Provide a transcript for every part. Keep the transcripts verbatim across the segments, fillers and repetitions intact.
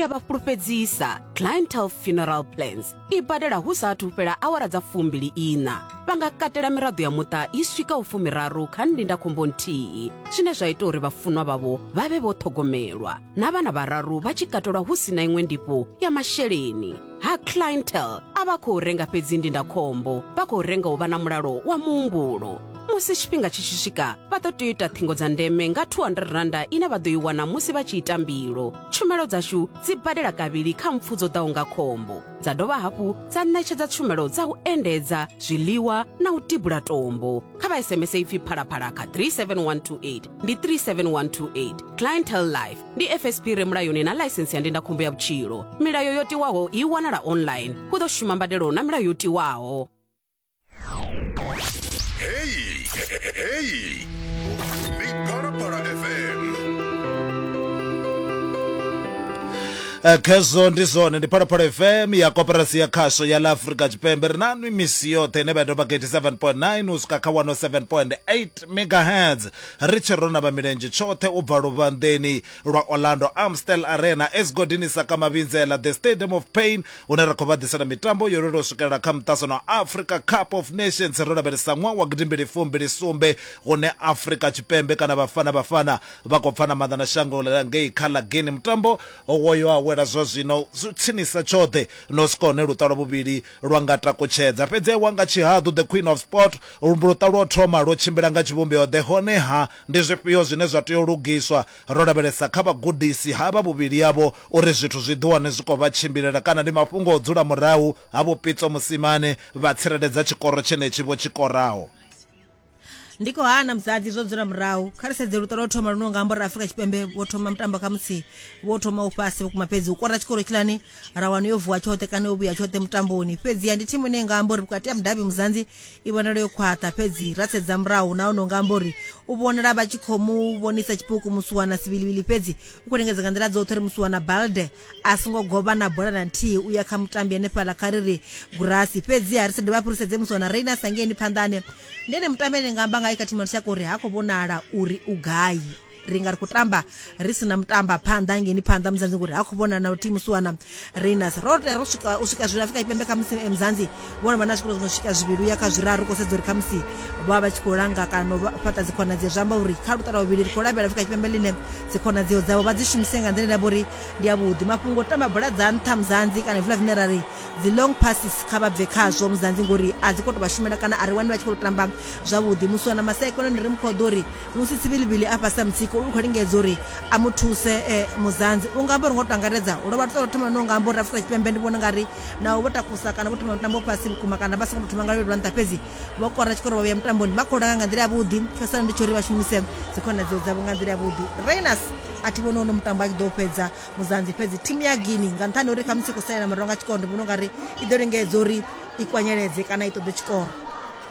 Ri a vha fhulufhedzisa Clientele Funeral Plans i badela hu sa athu fhela awara dza fumbili ina. Vha nga katela miraḓo ya muṱa i swikaho fumiraru kha ndindakhombo nthihi, zwine zwa ita uri vhafunwa vhavho vha vhe vho ṱhogomelwa, na vhana vhararu vha tshi katelwa hu si na iṅwe ndifho ya masheleni. Ha Clientele a vha khou renga fhedzi ndindakhombo, vha khou renga u vha na mulalo wa muhumbulo. Musi tshifhinga tshi tshi swika, vha ḓo tea u ita ṱhingo dza ndeme nga two hundred randa ine vha ḓo i wana musi vha tshi ita mbilo. Tshumelo dzashu dzi badela kavhili kha mpfu dzo ḓaho nga khombo, dza dovha hafhu dza ṋetshedza tshumelo dza u endedza, zwiḽiwa na u tibula tombo. Kha vha S M S ipfi Phalaphala kha three seven one two eight, ndi three seven one two eight. Clientele Life ndi F S P re mulayoni na ḽaisensi ya ndindakhombo ya vhutshilo. Milayo yo tiwaho i wanala online. Hu ḓo shuma mbadelo na milayo yo tiwaho. Hey, hey, ndi Phalaphala F M. Khezwo ndi zwone, ndi Phalaphala F M ya koporasi ya khasho ya ḽa Afrika Tshipembe. Ri na nwi misi yoṱhe ine vha doba eighty-seven point nine u swika kha one oh seven point eight megahertz. Ri tshi rona vha milenzhe tshoṱhe u bva luvhanḓeni lwa Orlando Amstel Arena, Esgodini Saka Mavhinzela, the Stadium of Pain, hune ra khou vha ḓisela mitambo yo lelwa u swikelela kha muṱasano wa Africa Cup of Nations. Ro lavhelesa ṅwaha wa gidimbili fumbili sumbe hune Afrika Tshipembe kana Bafana Bafana vha khou pfana maanḓa na shango ḽa ngei kha ḽa Guinea. Mutambo wo yo awela zwa zwino zwi tsinisa tshoṱhe no swika hune luṱa lwa vhuvhili lwa nga takutshedza. Fhedzi wa nga tshihaḓu, the Queen of Sport, luṱa lwo thoma lwo tshimbila nga tshivhumbeo ḓe, honeha ndi zwifhio zwine zwa tea u lugiswa? Ro lavhelesa kha vhagudisi havha vhuvhili yavho uri zwithu zwi ḓi wane zwi khou vha tshimbilela, kana ndi mafhungo o dzula murahu ha Vho Pitso Mosimane vha tsireledza tshikoro tshenetshi vho tshi koraho. Ndi khou hana musadzi zwo dzula murahu. Kha ri sedze luṱa lwo thoma luno nga amba uri Afrika Tshipembe vho thoma mutambo kha musi vho thoma u fhasi vhukuma, fhedzi u kora tshikoro tshilani ra wana yo vuwa tshoṱhe kana yo vhuya tshoṱhe mutamboni. Fhedzi ndi thimu ine nga amba uri vhukati ha mudavhi Muzanzi i vhonala yo khwaṱha, fhedzi ra sedza murahu na ono nga amba uri u vhonala vha tshi khou mu vhonisa tshipuku Musuwana Sibilibili, fhedzi u khou lingedza nga nḓila dzoṱhe uri Musuwana Balde a songo govha na bola na nthihi u ya kha mutambi hanefhaḽa kha ri ri Gurasi. Fhedzi ha ri sa dovha hafhu ri sedze Musuwana Reina sangeni phanḓani, ndi ene mutambi ane nga amba nga kha thimu ya lushaka uri ha khou vhonala uri u gai. Ri nga ri khou tamba ri sina mutamba phanḓa ngeni phanḓa Muzanzi ngori ha khou vhonala na thimu Musuwana Reinas. Ro tea ro swika u swika zwino Afrika Tshipembe kha musi Mzanzi vhona vha na zwikolo zwi no swika zwivhili uya kha zwiraru, khou sedza uri kha musi vha vha tshi khou langa kana u fhaṱa dzikhonadzeo. Zwi amba uri kha luṱa lwa vhuvhili ri khou lavhelela Afrika Tshipembe ḽine dzikhonadzeo dzavho vha dzi shumise nga nḓila ine ya vha uri ndi yavhuḓi. Mafhungo o tamba bola dza nṱha Mzanzi kana hezwiḽa zwine ra ri dzi long passes kha vha bve khazwo Mzanzi ngori a dzi khou tou vha shumela kana a ri wani vha tshi khou tamba zwavhuḓi. Musuwana Maseko ndi ri mukhoḓo uri musi Sibilibili a fhasi ha mutsiko u khou lingedza uri a mu thuse eh, Muzanzi. U nga amba uri ngo to angaredza u lovha ṱo thoma no nga amba uri Afrika Tshipembe ndi vhona ngari naho vho takusa kana vho thoma mutambo fhasi vhukuma kana vha songo thoma nga lwa nṱha, fhedzi vho kora tshikoro vha vhuya mutamboni vha khou langa nga nḓila yavhuḓi. Tsho ndi tsho uri vha shumise dzikhonadzeo dzavho nga nḓila yavhuḓi. Reinas a thi vhoni ono mutambo a tshi ḓo fhedza Muzanzi, fhedzi thimu ya Guinea nga nṱhani uri khamusi khou salela murahu nga tshikoro ndi vhona ungari i ḓo lingedza uri i kwanyeledze kana i ṱoḓe tshikoro.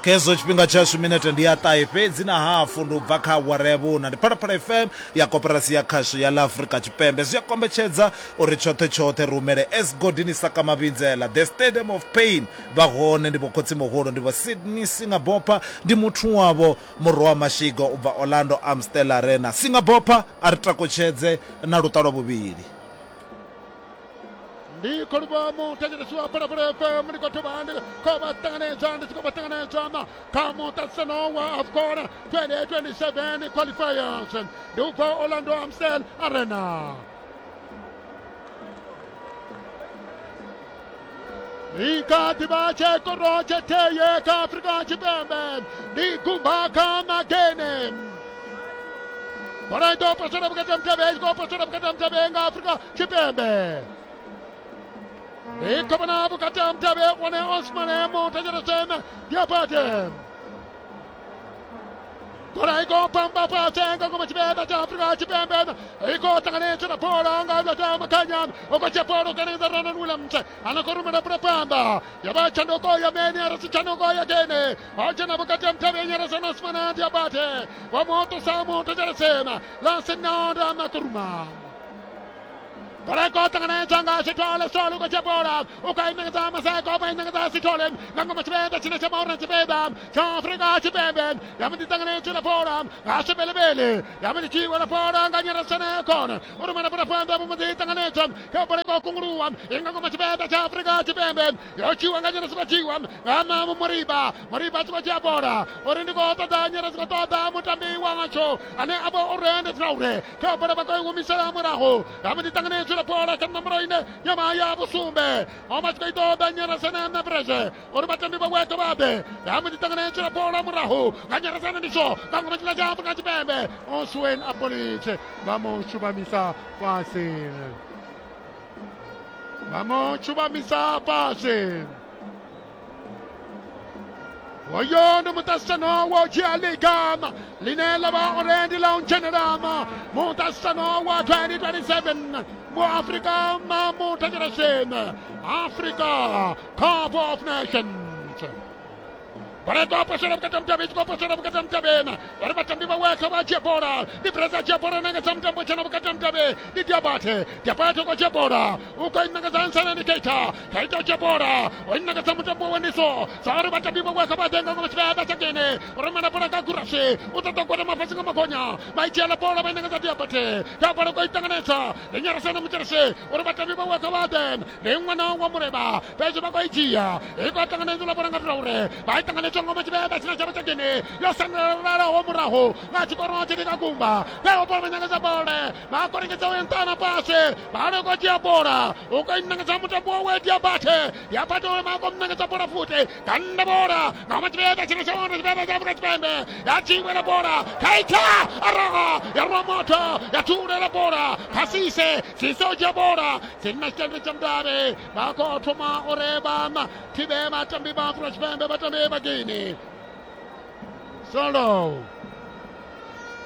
Khezwo tshifhinga tshashu minete ndi ya ṱahe fhedzi na hafu ndi u bva kha awara ya vhuna. Ndi Phalaphala F M ya koporasi ya khasho ya ḽa Afrika Tshipembe. Zwi a kombetshedza uri tshoṱhe tshoṱhe ri humele Esgodini Saka Mavhinzela, the Stadium of Pain. Vha hone ndi vho khotsi muhulu, ndi vho Sydney Singabopha, ndi muthu wavho murwa wa Mashigo u bva Orlando Amstel Arena. Singabopha a ri takutshedze na luṱa lwa vhuvhili. Ndi khou livhuwa muthetshelesi wa Phalaphala F M, ndi khou thoma ndi khou vha ṱanganedza ndi tshi khou vha ṱanganedza kha muṱaṱisano wa AFCON twenty twenty-seven qualifiers ndi u bva Orlando Amstel Arena. I kha ḓi vha tshikoro tshetheye kha Afrika Tshipembe, ndi gumba kha Magene. Bola i ḓo posela vhukati ha mutevhe, i khou posela vhukati ha mutevhe nga Afrika Tshipembe. I khou vhona vhukati ha mutevhe one Osmane Muthetshelesem Diabate. Bola i khou pamba fhasi nga ngomu tshipembe tsha Afrika Tshipembe, i khou ṱanganedzwa na bola nga Lwata Makhanya, u khou dzhia bola u ṱanganedza Ronan Williams, a no khou rumela bola pamba ya vha tshanduko ya mene a si tshanduko ya gene, o dzhena vhukati ha mutevhe Nyeresa Osmane Diabate, wa muṱusa Muthetshelesem Lasinanda Makuruma. Bola ko ṱanganedza nga Sithole, Sithole u khou dzhia bola, u khou i ṋekedza Maseko, vha i ṋekedza Sithole nga ngoma tshipiḓa tshine tsha maurna tshipiḓa tsha Afrika Tshipembe. Ya mbo ḓi ṱanganedzwa bola nga Sebelebele, ya mbo ḓi dzhiiwa na bola nga Nyerasane Kone, u rumela bola phanḓa, vho mbo ḓi ṱanganedzwa kha bola i khou kunguluwa i nga ngoma tshipiḓa tsha Afrika Tshipembe. Yo dzhiiwa nga Nyerasi, vha dzhiiwa nga Mamu Moriba, Moriba a tshi khou dzhia bola uri ndi khou ṱoḓa Nyerasi, khou ṱoḓa mutambi watsho ane a vha uri ndi Traore. Kha bola vha khou i humisela murahu, ya mbo ḓi ṱanganedzwa bola kha nomboro ine ya vha ya vhusumbe, o vha tshi khou i ṱoḓa Nyerasane na Breze uri vhatambi vha weke vha ḓe. Ya mbo ḓi ṱanganedzwa bola murahu nga Nyerasane, ndi so nga ngoma tshiḽa tsha Afrika Tshipembe. Oswen Apolice vha mu shuvhamisa fhasi, vha mu shuvhamisa fhasi. Oyo ndi muṱaṱisano wa u dzhia liga ḽine ḽa vha uri ndi ḽa u dzhenelela muṱaṱisano wa twenty twenty-seven mu Afrika Muthetsheleseni, Africa Cup of Nations. Bola iko posela vhukati ha mutavhe, i posela vhukati ha mutavhe uri vhatambi vha wekha vha dzhia bola. Ndi Breza dzhia bola, ṋekedza mutambo tshena vhukati ha mutavhe, ndi Diabate, Diabate u khou dzhia bola, u khou i ṋekedza Nsana, ndi Keita, Keita u dzhia bola, u i ṋekedza mutambo wa Ndiso. Sa uri vhatambi vha wekha vha ḓe nga ngoma tshipiḓa tsha Gene, u rumela bola nga Gurasi, u ṱoḓa u gwada fhasi nga magonya, vha i dzhiela bola vha i ṋekedza Diabate, kha bola khou i ṱanganedza ndi Nyerasane Mutshelese uri vhatambi vha wekha vha ḓe, ndi ṅwana wa Mureba, fhedzi vha khou i dzhia, i khou ṱanganedza bola nga Traore, vha i ṱanganedza ngoma tshipiḓa tshine tsha vha tsha Gene yo sandalalaho murahu nga tshikoro tshi nga kumba. Vheo bola vha ṋekedza bola, vha khou lingedza u nṱana fhasi, vha ri khou dzhia bola, u khou i ṋekedza mutambo wawe Diabate, Diabate uri vha khou ṋekedza bola futhi, kanda bola ngoma tshipiḓa tshine tsha vhona tshipiḓa tsha Afrika Tshipembe, ya dzhiiwela bola Keita araga ya rwa moto ya thulela bola kha Sise, Sise u dzhia bola, tsini na tshitende tsha mudavhi, vha khou thoma uri vha thivhe vhatambi vha Afrika Tshipembe, vhatambi vha Guinea. Solo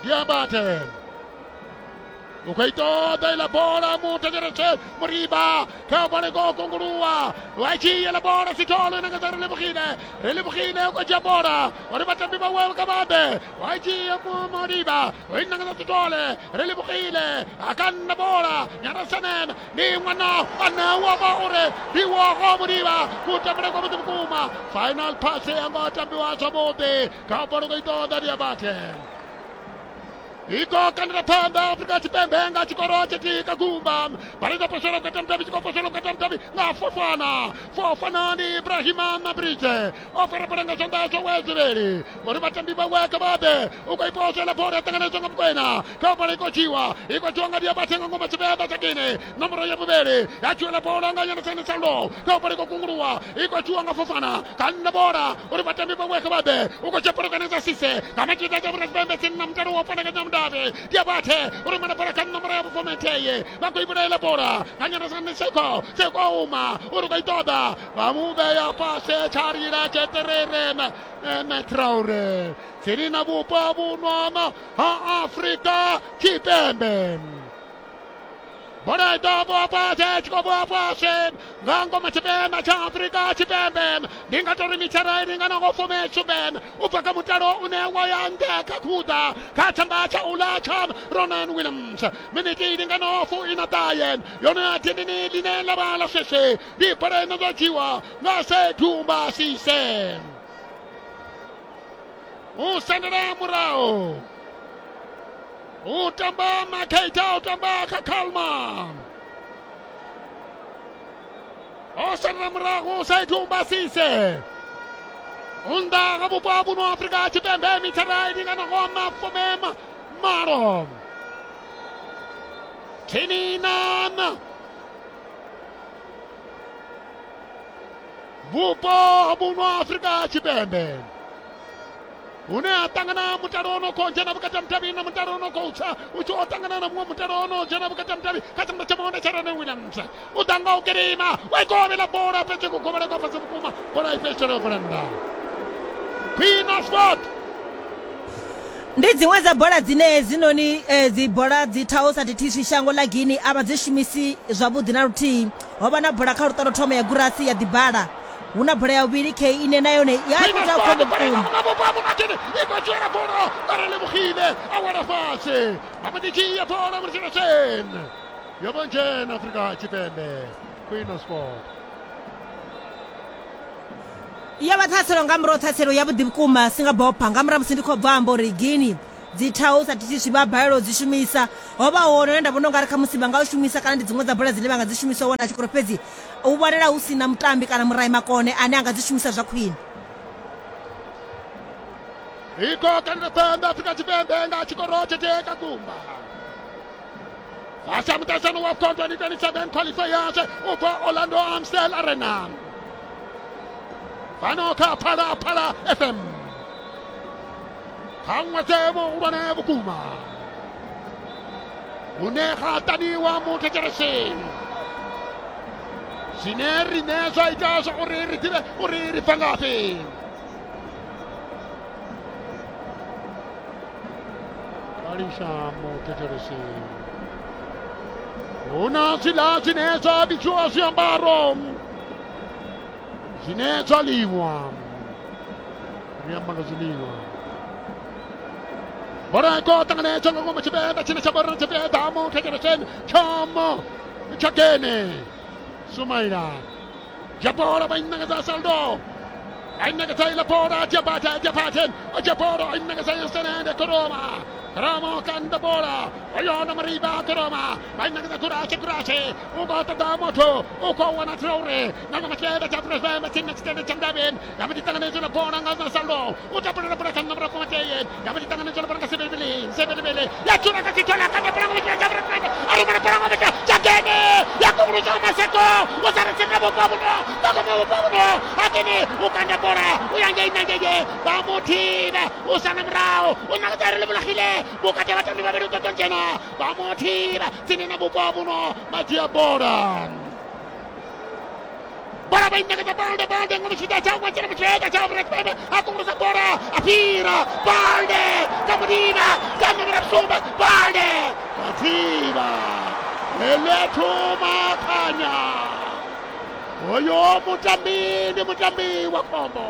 Diabate u khou i ṱoḓa iḽa bola Muthetshelese Moriba, kha bola i khou kunguluwa, wa dzhia iḽa bola Sithole, ṋekedza Relebogile, Relebogile u khou dzhia bola uri vhatambi vhawe kha vha ḓe, wa dzhia Moriba, u i ṋekedza Sithole, Relebogile a kanna bola Nyerasane, ndi ṅwana ane wa vha uri ndi wogo Moriba, kutambele kwa vhuḓi vhukuma. Final pass ya ngo tambiwa zwavhuḓi, kha bola u khou i ṱoḓa Diabate. Iko kandela phanḓa Afrika Tshipembe nga tshikoro tshithihi kha gumba. Bala posela vhukati ha mudavhi, tshi khou posela vhukati ha mudavhi nga Fofana, Fofana ndi Ibrahima Mabrije, o fara bola nga zwanḓa zwawe zwivhili uri vhatambi vhawe kha vha ḓe. U khou i posela bola ya ṱanganedzwa nga Mukwena, kha bola i khou dzhiwa, i khou dzhiwa nga Diabate nga ngoma tshipiḓa tsha Gine, nomboro ya vhuvhili ya dzhiela bola nga Nyerasane Salo, kha bola i khou kunguluwa, i khou dzhiwa nga Fofana, kanna bola uri vhatambi vhawe kha vha ḓe. U khou dzhia bola kanedza Sise nga matshipiḓa tsha Afrika Tshipembe tsini na mutalo wa fana Mudavhi, Diabate u rumela bola kha nomboro ya vhufumithihi, vha khou i vhulaela bola nga Nyerasane Seko, Seko uma uri khou i ṱoḓa, vha mu vhea fhasi tsha lila tsheṱerere Traore tsini na vhupo vhunwana ha Afrika Tshipembe. Bola i ḓo vhuwa fhasi, tshi khou vhuwa fhasi nga ngoma tshipiḓa tsha Afrika Tshipembe. Ndi nga tori mitshara i linganaho fumi sumbe u bva kha mutalo une wa ya nṱha kha khuḓa kha tshanḓa tsha uḽa tsha Ronan Williams. Miniti i linganaho fu ina ṱahe yone ya dindini ḽine ḽa vha ḽa sheshe, ndi bola ine ḓo dzhiwa nga Sethumba Sise. U sendela murahu, u tamba Makheita, u tamba kha Kalma, o sendela murahu Sethumba Sise. Nnḓa ha vhupo ha vhuno Afrika Tshipembe mithara i linganaho mafumi malo tsini na vhupo ha vhuno Afrika Tshipembe hune ha ṱangana mutalo ono khou dzhena vhukati ha mudavhi na mutalo ono khou tsa u tshi o ṱangana na muṅwe mutalo ono dzhena vhukati ha mudavhi kha tshanḓa tsha maonde tsha Ronan Williams. U ḓa nga u gidima, wa i govhela bola fhedzi kugovhele kwa fhasi vhukuma, bola i fhedzisela yo bvela nnḓa. Queen of Sport. Ndi dziṅwe dza bola dzine hedzinoni dzi bola dzi thaho sa thithiswi shango ḽa Guinea a vha dzi shumisi zwavhuḓi na luthihi. Ho vha na bola kha luṱa lwo thoma ya Gurasi ya ḓibala, hu na bola ya vhuvhili K ine na yone ya ita khombo vhukuma. I khou dzhiela bola nga Relebogile a wela fhasi, vha mbo ḓi dzhia bola Mutsheleseni. Yo vho dzhena Afrika Tshipembe Queen of Sport. Ya vha ṱhaselo nga murahu ṱhaselo ya vhuḓi vhukuma singabopha nga murahu musi ndi khou bva amba uri Guinea dzi thaho sa thithiswi vha balelwa u dzi shumisa ho vha hone hune nda vhona ungari khamusi vha nga u shumisa kana ndi dziṅwe dza bola dzine vha nga dzi shumisa u wana tshikoro fhedzi u vhonala hu si na mutambi kana murai makone ane a nga dzi shumisa zwa khwine. Iko kandira pembe Afrika Tshipembe nga tshikoro tshithihi kha gumba. Fasa muṱaṱisano wa AFCON twenty twenty-seven qualifiers u bva Orlando Amstel Arena. Fano kha Phala Phala F M. Kha ṅwedzi muhulwane vhukuma hune ha ṱaniwa muthetshelesi zwine riṋe zwa ita zwa uri ri ḓivhe uri ri bva ngafhi. Kalisha muthetshelesi hu na zwiḽa zwine zwa vhidziwa zwiambaro zwine zwa liṅwa, ri amba nga zwiḽiwa. Bola iko ṱanganedzwa nga ngomu tshipembe tshine tsha vhori tshipiḓa muthetsheleseni tshomo tsha Gene Sumaila dzhia bola vha i ṋekedza Saldo, a i ṋekedza iḽa bola Diabate, Diabate o dzhia bola a i ṋekedza Yesenende Koroma. Ramo kanda bola oyona Mariba Koroma va i ṋekedza Kurache, Kurache u khou ṱoḓa muthu u khou wana Traore nga ngomu tshipembe tsha Afrika Tshipembe tshine tshitende tsha Mdavheni ya mbo ḓi ṱanganedzwa na bola nga Saldo u tapulela bola kha nomoro fumathihi ya mbo ḓi ṱanganedzwa na bola nga Sebelebele, Sebelebele ya dzula kha tshithola kanda bola nga tshipembe tsha Afrika Tshipembe a rumela bola nga tshipembe tsha Gene ya kungulusa Maseko u sa ri tsini vhupo vhuno nga ngomu vhupo vhuno Akini u kanda bola u ya ngei na ngei vha muthivha u sala murahu u ṋekedza ri livhulahile vhukati ha vhatambi vhavhili u ṱoḓa dzhena vha muthivha tsini na vhupo vhuno vha dzhia bola. Bola vha i ṋekedza Balde, Balde nga mutshiḓa tsha ṅwetshela mutsheda tsha Afrika Tshipembe a kungulusa bola a fhira Balde kha muthivha kha nomoro sumbe Balde vha thivha elethu makhanya. Hoyo mutambi ndi mutambi wa khombo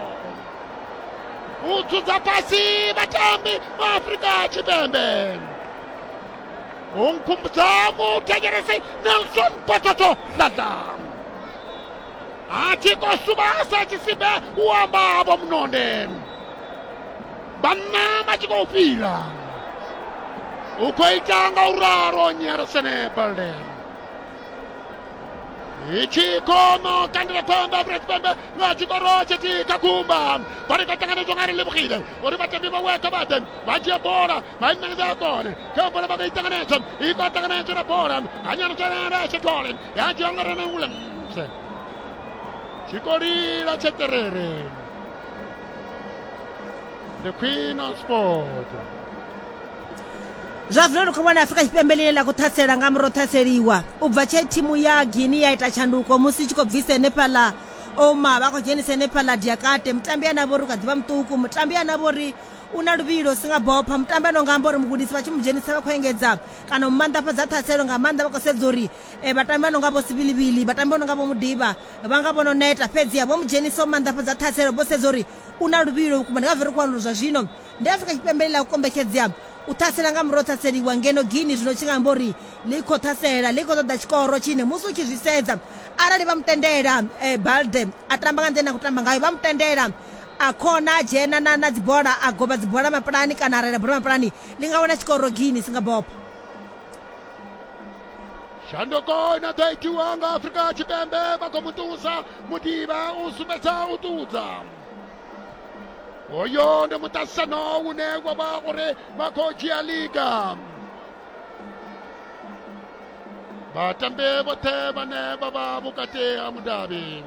u dzudza fhasi vhatambi vha Afrika Tshipembe. U nkhumbudza muthetshelesi Nelson Pototo Dladla a tshi khou suvhasa tshisimbe u amba vho Munonde vhanna vha tshi khou fhira u khou ita nga u ralo Nyeresene Balde. Itshi khoma kandira pembe Afrika Tshipembe nga tshikoro tshithihi kha gumba vha ri khou ṱanganedzwa nga ri livhugile uri vhatambi vha weka vha ḓe vha dzhia bola vha i ṋekedza kone kha bola vha khou i ṱanganedza i khou ṱanganedzwa na bola hanyana Tshithole ya dzhia nga Rene Williams tshikolila tsheterere the Queen of Sport. Zwa zwino ri khou vhona Afrika Tshipembe ḽine ḽa khou ṱhasela nga murahu ṱhaseliwa u bva tshe thimu ya Guinea ya ita tshanduko musi i tshi khou bvisa henefhaḽa Oma vha khou dzhenisa henefhaḽa Diakate mutambi ane a vha uri u kha ḓi vha muṱuku mutambi ane a vha uri u na luvhilo singabopha mutambi ane nga amba uri mugudisi vha tshi mu dzhenisa vha khou engedza kana u maanḓafhadza ṱhaselo nga maanḓa vha khou sedza uri vhatambi vha no nga vho Sibilibili vhatambi vha no nga vho Mudiba vha nga vho no neta fhedziha vho mu dzhenisa u maanḓafhadza ṱhaselo vho sedza uri u na luvhilo vhukuma. Ndi ngazwo ri khou wana uri zwa zwino ndi Afrika Tshipembe ḽa u kombetshedzea u ṱhasela nga murahu ṱhaseliwa ngeno Guinea zwino tshi nga amba uri ḽi khou ṱhasela ḽi khou ṱoḓa tshikoro tshine musi u tshi zwi sedza arali vha mutendela Balde a tamba nga nḓila ine a khou tamba ngayo vha mutendela a khona a dzhena na na dzibola a goba dzibola mapulani kana a reila bola mapulani ḽi nga wana tshikoro Guinea singabopha. Shanduko ino ḓo itiwa nga Afrika Tshipembe vha khou muṱusa Mudiba u sumbedza u ṱudza. Hoyo ndi muṱaṱisano une wa vha uri vha khou dzhia liga. Vhatambi vhoṱhe vhane vha vha vhukati ha mudavhi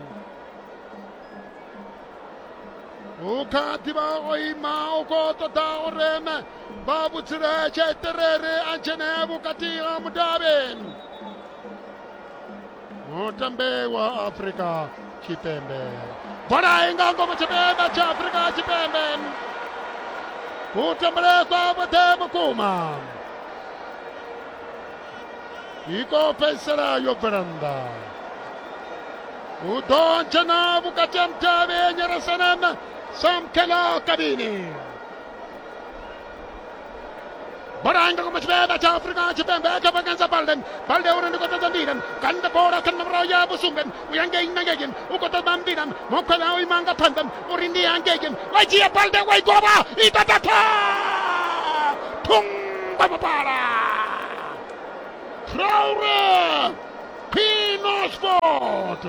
u kha ḓivha o ima u khou ṱoḓa uri vha vhudzule tsheterere a dzhene vhukati ha mudavhi. Mutambi wa Afrika Tshipembe bola i nga ngomu tshipembe tsha Afrika Tshipembe kutambele kwavhuḓi vhukuma i khou fhedzisela yo bvela nnḓa. U ḓo dzhena vhukati ha mudavhi Nyeresenem Samkela Kabini. Bola nga ngoma tshipembe tsha Afrika Tshipembe kha vhakanza Balde Balde uri ndi khou ṱoḓa nḓila kanda bola kha nomoro ya vhusumbe u ya ngei na ngei u khou ṱoḓa nḓila mukhwela o ima nga phanḓa uri ndi ya ngei wa dzhia Balde wa i govha i ṱaṱa thungo mapala Traore Pino Sport.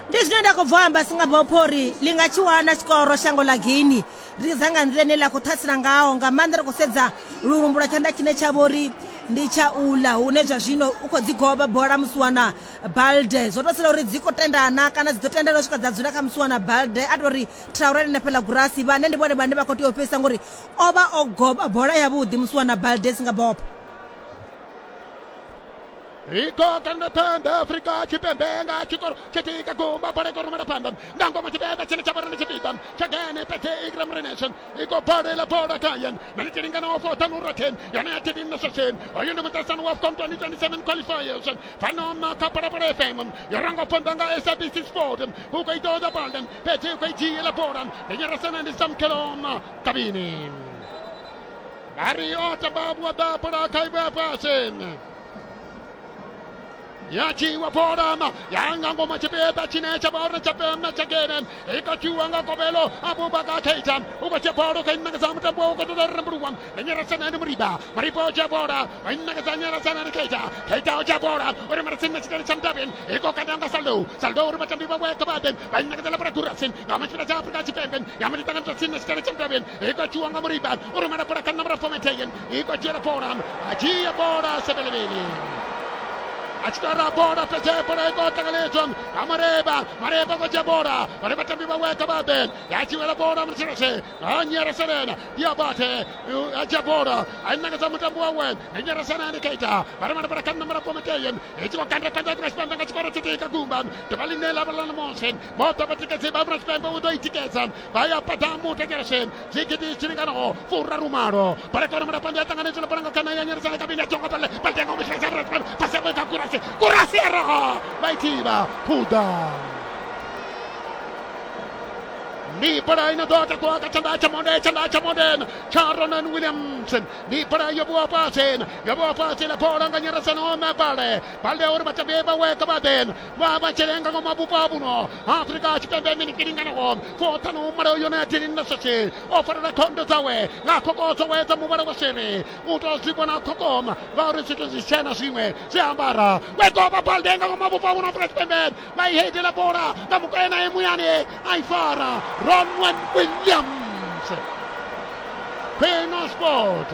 Ndi zwine nda khou bva amba singabopho uri ḽi nga tshi wana tshikoro shango ḽa Guinea ri za nga nḓila ine ḽa khou ṱhasela ngaho nga maanḓa ri khou sedza lulumbu lwa tshanḓa tshine tsha vho uri ndi tsha uḽa hune zwa zwino u khou dzi govha bola musiwana Balde zwo tou sala uri dzi khou tendana kana dzi ḓo tendana u swika dza dzula kha musiwana Balde a tou ri Traore hanefhaḽa Gurasi vhane ndi vhone vhane vha khou tea u fhedzisa ngori o vha o govha bola yavhuḓi musiwana Balde singabopho. Iko kanda panda Afrika Tshipembe nga tshikoro tshitika gumba bola iko rumela panda nga ngoma tshipembe tshine tsha vhona tshipida tshagene pete igram renation iko bola la bola kayen nalitiringana wa fotanu raten yana yatini na sashen oyo ndi mutasano wa AFCON twenty twenty-seven qualifiers fano ma kapara para F M yorango panda nga S A B C Sport uko itoda balden pete uko ijie la bola nenyarasana ndi samkelom kabini Ari otababu wa bola kaiba pasen yachiwa porama yanga ngoma chipeta chine cha chapema chagene ikachiwa ngobelo Abubakar Keita uko cheporo kainanga zamutambo uko todarambruwa nenyarasana ndi muriba maripo chepora ainanga zanyarasana ndi Keita Keita chepora uri marasina chitari chamdabin iko kadanga saldo saldo uri matambiwa weka baden ainanga zala para kurasin ngama chipeta cha Afrika Tshipembe yamitanga mtasina chitari chamdabin iko chiwa ngamuriba uri marapora kanamra fometayen iko chera poram achia bora sebelebeli Achitara bora pese bora iko tagaleson amareba mareba ko jabora mareba tambiba weka baden yachiwela bora mtsirose anyara serena diabate ajabora ainanga zamutambo wawe anyara serena ni Keita marema bora kanna mara pometeyen echiko kanda kanda krespanda ngachikoro chitika gumba tebalinela balana monsen mota batika seba brespembe udo itikesa vaya patamu tegersen zikiti chirigano furra rumaro para kora mara panda tanganeso paranga kana anyara serena kabina chongo pale paltengo mshesa pase kwa kura Kurasi roho Baitiva Puda Ni para ina dota kwa chanda chamonde chanda chamonde Charonan Williamson ni para yobo pasen yobo pasen la bola nganyara sano ma pale pale ora machabeba weka baden wa bachelenga ngoma bupabuno Afrika Tshipembe minikiringa no fota no maro yona tin na sase ofara na kondo zawe na kokoso weta mubara wasere uto zibona kokoma vauri situ zisena siwe siambara weko baldenga ngoma bupabuno Afrika Tshipembe mai hede la bola na mukena emuyane aifara Ronwen Williams Peno Sport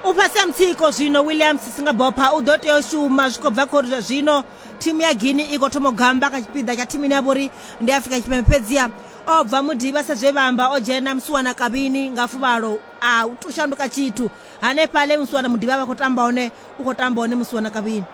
U fhasi ha mutsiko zwino Williams singabopha u ḓo tea u shuma zwi khou bva khori zwa zwino thimu ya Guinea i khou thoma u gamba kha tshipiḓa tsha thimu ine ya vha uri ndi Afrika Tshipembe fhedziha o bva Mudiba sa zwe vha amba o dzhena musiwana Kabini nga fuvhalo a u shanduka tshithu hanefhaḽa musiwana Mudiba vha khou tamba hone u khou tamba hone musiwana Kabini.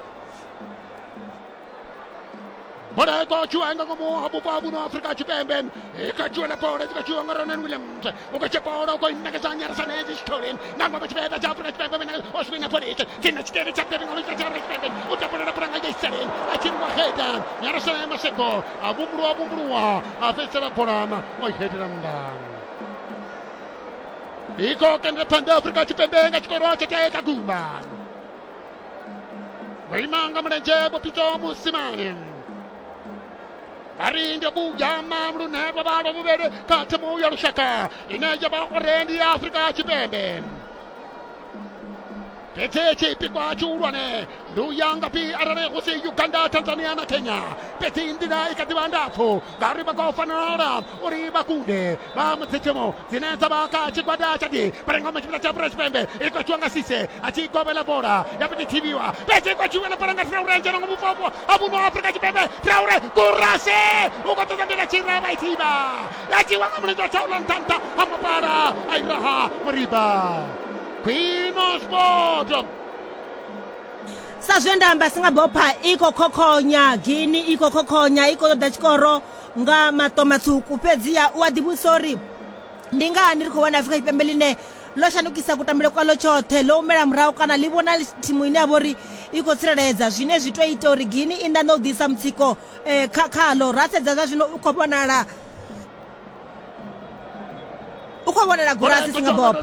Bola iko chuanga ngomo abupabu no Afrika Tshipembe ikachuela bola ikachuanga Ronan Williams ukachepora uko inakazanya sanezi storin nangwa Tshipembe cha Afrika Tshipembe mina oswina police tina chitene cha Tshipembe ngalo cha Afrika Tshipembe utapora pranga yeseren achinwa heda nyarasana maseko abumru abumruwa afesera porama oihedranda iko kende panda Afrika Tshipembe ngachikoro cha kagumba Waimanga mlenje bopito musimani Arinde buyama mrune babalo mubere katemu yarushaka ineja ba orendi Afrika Tshipembe Pete chipikwa churwane luyanga pi arare husi Uganda Tanzania na Kenya pete indira ikatibandafo gari bakofanara uri bakunde ba mtsechemo zineza baka chikwada chadi parangoma chipita cha Tshipembe iko chwanga sise achikobela bora yapiti tibiwa pete kwa chwela paranga Traore njana ngumufopo abuno Afrika Tshipembe Traore kurase ukotozambira chira baitiba yachiwa mlendo chaula ntanta amapara airaha mariba Queen Sport Sa zwe nda amba singabopha iko khokhonya Guinea iko khokhonya iko ṱoḓa tshikoro nga maṱo matswuku fhedziha u a ḓivhudzisa uri ndi ngani ri khou wana Afrika Tshipembe ḽine ḽo shandukisa kutambele kwaḽo tshoṱhe ḽo humela murahu kana ḽi vhona thimu ine ya vha uri i khou tsireledza zwine zwi tou ita uri Guinea i nḓaṋe u ḓisa mutsiko kha khaḽo ra sedza zwa zwino u khou vhonala u khou khou vhonela Gurasi Singapore.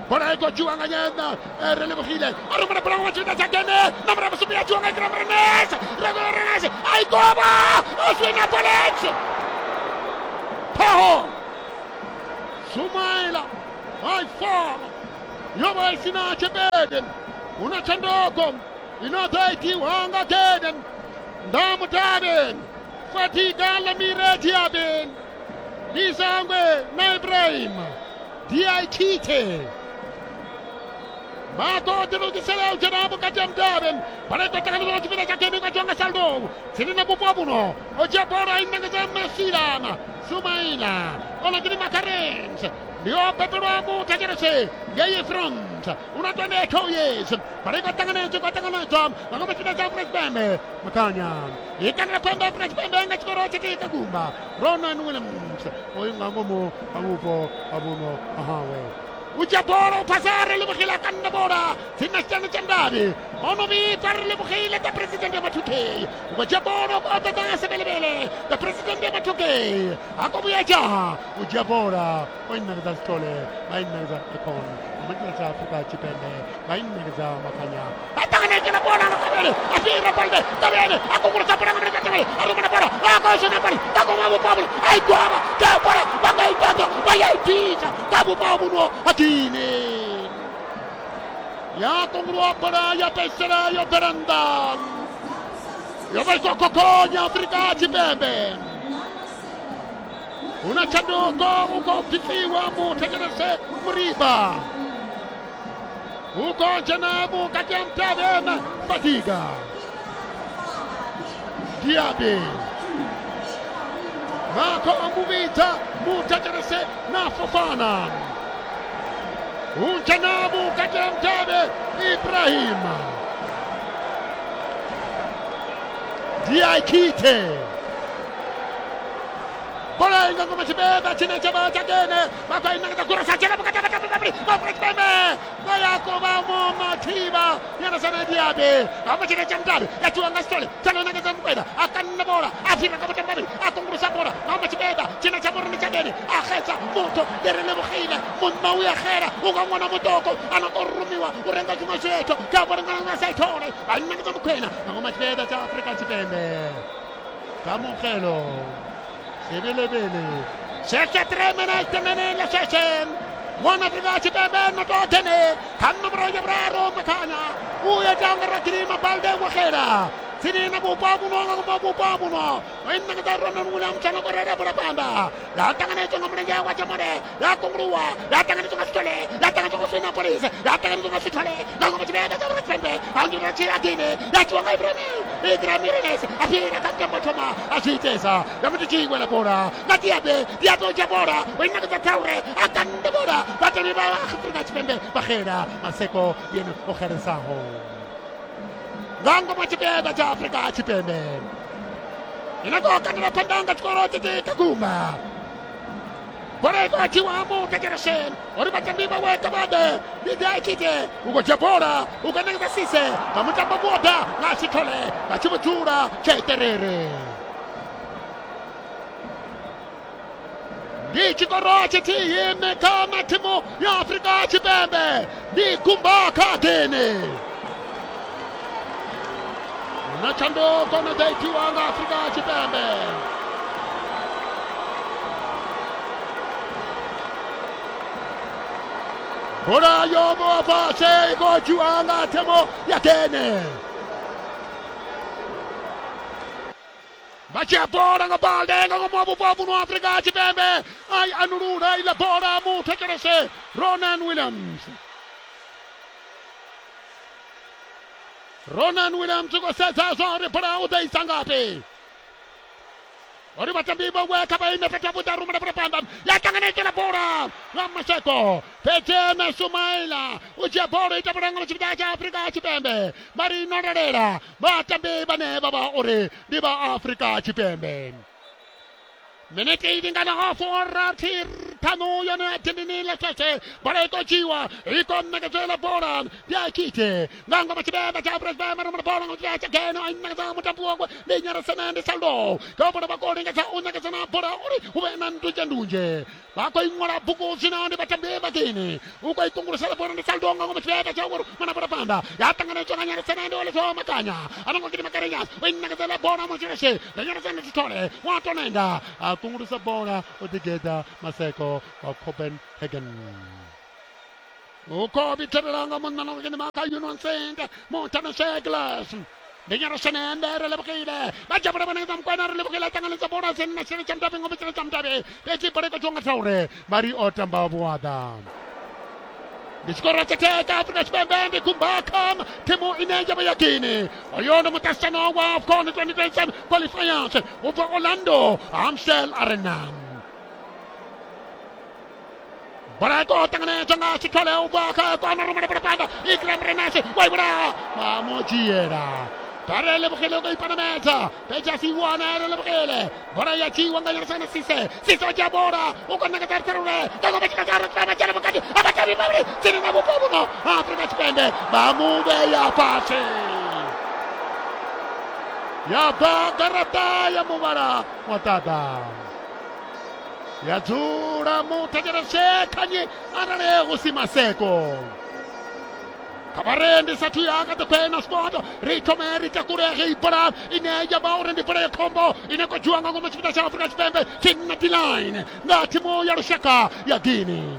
Bola iko jua nga nyena relebogile a romela bola go tšweta tsakene nomoro ya bosupa ya jua nga Ibrahim Renes Renes a ikoba o swina Polex Paho Sumaila ai four yoba isina chebeden una chandoko inotaiti wanga keden ndamutaden Fatiga lamire tiaben Nisangwe na Ibrahim D I T T Mako dilukisela ujanabu kati ya mdaben Bareko takalo chipita chake kwa jonga saldo Sirina bupabuno Oja bora inangeza Messilana Sumaila Olagiri Makarens Ndio Peperoamu tajerese Yeye front Unatwende Koyes Bareko tanganezo kwa tanganezo Magome chipita cha Bembe Makanya Ikana pembe Fresh Bembe ngachikoro chitika gumba Ronan Williams Oyinga ngomo abupo abuno ahawe Ujaboro pasare lebogile kanna bora sina tsana tsandadi ono bi pare lebogile the president ya Mathuke Ujaboro o tata sebelebele the president ya Mathuke akobuya ja Ujabora o inna ga stole ba inna ga ekon amantla tsa Afrika Tshipembe ba inna ga makanya atangane ke na bona kabele afira balde kabele akungura tsa bona ngre kabele arumana bora akosona bari takoma bo pablo ai kwaba ka bora ba ga itato ba ya itisa ka bo pablo Atini Ya kongrua para ya pesera ya peranda Ya vai kokonya Afrika Tshipembe Una chanduko uko pifiwa mu tekerese muriba Uko janabu kati ya mtabe Fatiga Diaby Mako amuvita mu tekerese na Fofana Unjanabu kati ya mtabe Ibrahim Diakite Bola inga ngoma chibeba chine chaba chakene baka inga ngakura sachela baka baka baka baka baka baya koba mo matiba yana sana diabe ama chine chamdabe yatu anga stole chalo nanga zamkweda akanna bola afira kabata mbabi akungurusa bola ama chibeba chine chamoro ni chakene akhesa moto derele bukhila munna uya khera ukangwana mutoko anakorumiwa urenga chimosheto kabora ngana saitore anna zamkwena ngoma chibeba cha Afrika Tshipembe Kamogelo Sebelebele Seke tremene temene le sesen Mwana Afrika Tshipembe no totene Kanno broya braro makanya Uya janga rakirima balde wakhera Sinina bupabu no ngoma bupabu no Inna ka rona ngula mchana korera bora pamba La tangane tsonga mlenga wa chamore La kongruwa La tangane tsonga sitole La tangane tsonga sina police La tangane tsonga sitole La ngoma tshibeba tsa Tshipembe Anjura tshira La tsonga Ibrahim Ibrahim Renes Afira ka motoma Ashitesa Ya mutichingwe la bora Na diabe Diabe jabora Inna ka taure Akande bora Batani ba Afrika Tshipembe Bakhera Maseko yena ogeresaho Ngango machibeba cha Afrika Tshipembe Inakoka na pandanga chikoro tete kaguma Bora iko achiwa mu tekeresen Ori batambiba weka bade Bidai kite Uko jabora Uko nengeza sise Mamutamba bota Ngasitole Ngachibutura Cheterere Ndi chikoro chete kama timu ya Afrika Tshipembe Ndi kumba katene Na chando kona daitiwa nga Afrika Tshipembe Bora yobo pase iko jua nga temo ya kene Bacia bora nga balde nga ngomo bubu no Afrika Tshipembe Ai anurura ila bora mu tekerese Ronan Williams Ronan Williams uko sasa zore para udai sangapi Ori batambiba weka ba imepeta buta rumba para pamba ya tangane la bora Lamaseko Petena Sumaila uja bora itabaranga chibida cha Afrika Tshipembe Marino Rera batambiba ne baba ore diba Afrika Tshipembe Minute idingana half or ṱhanu yone ya dindini ḽa tshetshe bola i khou dzhiwa i khou ṋekedzela bola ndi a tshite nga ngoma tshibembe tsha Afrika Tshipembe rumela bola nga tshia tshageno a ṋekedza mutambi wawe ndi Nyarasana ndi Saldo ka bola vha khou lingedza u ṋekedzana bola uri hu vhe na ndunzhe ndunzhe vha khou iṅwala bugu zwino ndi vhatambi vha Guinea u khou ikungulusela bola ndi Saldo nga ngoma tshibembe tsha uri mana bola phanḓa ya ṱanganedzwa nga Nyarasana ndi Oleso Makanya a no ngo gidima Karenyas o ṋekedzela bola Mutshireshe ndi Nyarasana Sithole wa tonenda a kungulusa bola u ḓigeḓa Maseko wa Copenhagen uko bitherela nga munna no gidima ka Union Saint Montana Seglas ndi Nyarasana re lebogile ba jabula bana tsa mokwana re lebogile ṱanganedza bola senna tshine tsha mutabe ngoma tshine tsha mutabe fhedzi bola i khou dzhiwa nga Traore mari o tamba vhuaḓa ndi tshikoro tsha theka Afrika Tshipembe ndi Gumbakam thimu ine ya vha ya Guinea oyo ndi muṱaṱisano wa AFCON twenty twenty-seven qualifiers u bva Orlando Amstel Arena bola i khou ṱanganedzwa nga Sithole u bva kha kona rumela bola phanḓa Ikram Renase wa i vhulaha vha mu dzhiela Bare lebogile o ka ipanamedza fhedzi a si wane re lebogile bola ya dzhiwa nga Nyarasana Sise Sise o dzhia bola u khou ṋekedza Traore nga ngoma tshikatara tshipembe dzhena vhukati ha vhatambi vhavhili tsini na vhupo vhuno ha Afrika Tshipembe vha mu vhea fhasi ya bva garaṱa ya muvhala wa ṱaḓa ya dzula muthetshelese khanyi arali hu si Maseko kha ndi sathu ya ka ḓikhwena sport ri thome ri takule hei bola ine ya vha uri ndi bola ya khombo ine khou dzhiwa nga ngomu tshipiḓa tsha Afrika Tshipembe tsini D-line nga thimu ya lushaka ya Guinea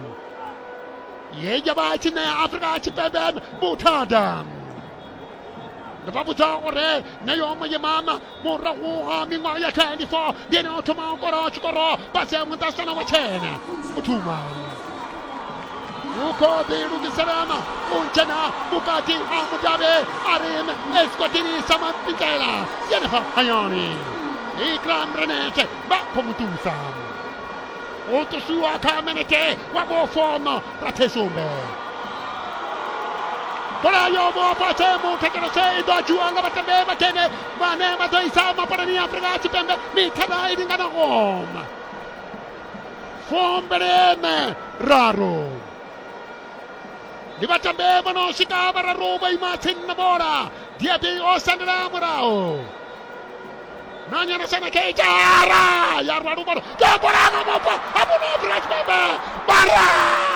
ye ya vha tshi ṋea Afrika Tshipembe vhuthada ndi vha vhudza uri neyo muyimama murahu ha miṅwaha ya twenty-four ndi ene o thoma u kora tshikoro fhasi ha muṱaṱisano wa tshene u thuma u khou ḓilugiselana u dzhena vhukati ha mudavhi a ri esikwatini sa mapinzela yenefha hayani Ikram Renese vha khou mu ṱusa u ṱusiwa kha minete wa vhufomo rathesumbe bola yo vho fhasi muthetshelese i ḓo dzhiwa nga vhatambi vhakene vhane vha ḓo isa mapolani ya Afrika Tshipembe mithara i linganaho fumbili raru ndi vhatambi vho no swika vhararu vho ima tsini na bola Diaby o sendela murahu na Nyarasana Keitara ya rwa luvhalo ya bola nga mupo hafho no Afrika Tshipembe bara